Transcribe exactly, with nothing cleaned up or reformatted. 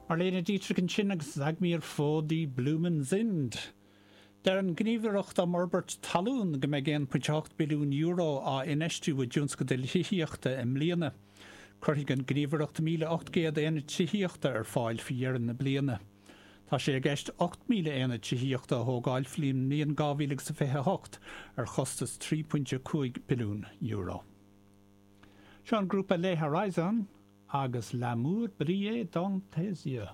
Marlene Dietrich ansin agus Sag mir, wo die Blumen sind. Deir an Ghníomhaireacht um Fhorbairt Talún go mbeidh aon phointe ocht billiún euro á infheistiú i dtionscadail thithíochta i mbliana. Cuirfidh an Ghníomhaireacht míle ocht gcéad aonad tithíochta ar fáil faoi dheireadh na bliana. Tá sé i gceist ocht míle aonad tithíochta a thógáil faoin mbliain dhá mhíle agus a fiche a hocht ar chostas trí phointe cúig billiún euro. Seo an grúpa Les Horizons agus L'amour brille dans tes yeux.